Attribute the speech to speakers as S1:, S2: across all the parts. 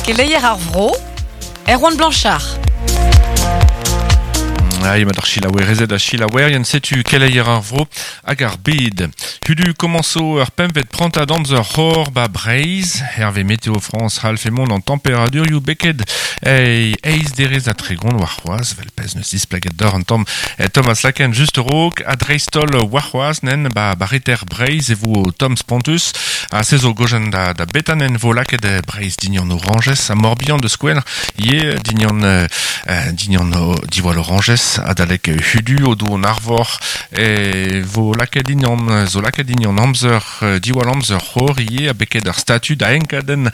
S1: Keleier ar vro, Erwan Blanchard.
S2: Ai, mat ar chilaouerezed ha chilaouerien, setu keleier ar vro hag ar bed. Hudu komañso ur pempvet prantad amzer c'hor ba Breizh, herve Météo France c'hallfe mont an temperadurioù beket ei eizh derez ha tregont warc'hoazh, vel pezh neus displeget deoc'h an tamm Thomas Laken just a-raok, ha dreist-holl warc'hoazh nen ba barreter Breizh e vo tomm spontus, ha se zo gojenn da, da betanen vo lakaet Breizh dignan orañjez ha Morbihan da skouer ivez dignan dignan diwall orañjez adalek hudu o do an arvor e vo lakaet dignan zo lakaet dignan amzer diwall amzer c'hor ivez ha beket ar statud a enkadenn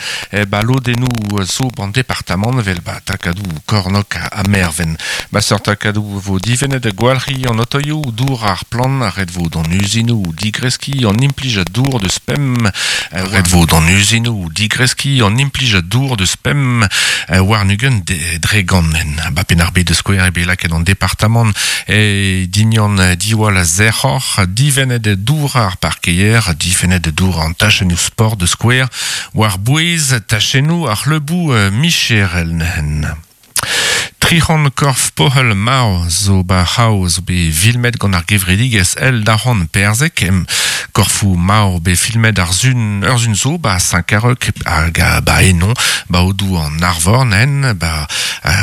S2: ba lodennoù zo ban departamant evel ba takadoù Kornok ha Merven. Ba seurt takadoù vo divennet gwalc'hiñ an otoioù, dour ar plant, ret vo d'an uzinoù digreskiñ an implij a dour deus pemp ret vo d'an uzinoù digreskiñ an implij a dour deus pemp warn-ugent dre gant. Ba Penn-ar-Bed da skouer eo bet lakaet an departamant e dignan diwall a sec'hor, divennet dour ar parkeier, difennet dour an tachennoù sport da skouer, war-bouez tachennoù ar c'hleuboù micherel neuze. 300 korf pohel marv zo ba c'hav zo bet filmet gant ar gevredigezh El Daron Perzhek. Korfoù marv bet filmet ar sun, ur sun zo ba Saint-Carreuc hag ba Enon, ba Aodoù an Arvor nen, ba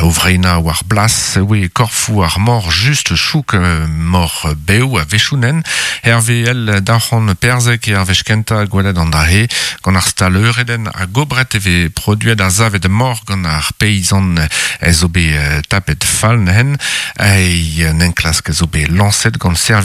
S2: o vreinañ war blas e oe korfoù ar mor just chouk mor bev a-wechoù nen. Herve El Daron Perzhek eo ar wech kentañ gwelet an dra-se gant ar stal-euredenn ha gobret e vez produet ar savet mor gant ar peizant zo bet tapet fall neuze. Un enklask zo bet lañset gant servij